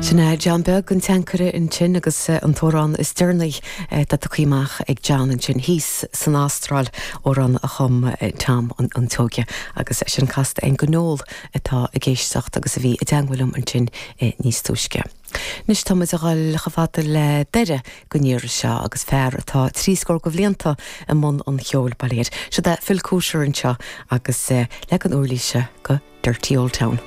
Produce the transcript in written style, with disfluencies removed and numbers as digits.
Sin é John Beag an tSeanchaire ansin agus an t-amhrán is deireanaí atá tugtha amach ag John ansin thíos san Astráil, amhrán a chum Tom an tSeoighe agus é sin casta againn do Noel atá ag éisteacht agus a bhí i dteangmháil liom ansin níos túisce. Anois tá muid a dhul chomh fada le Doire don iarraidh seo agus fear atá trí scór de bhlianta i mbun an cheoil, bail ó Dhia air. Siod é Phil Cooter anseo agus leagan uirlise de Dirty Old Town.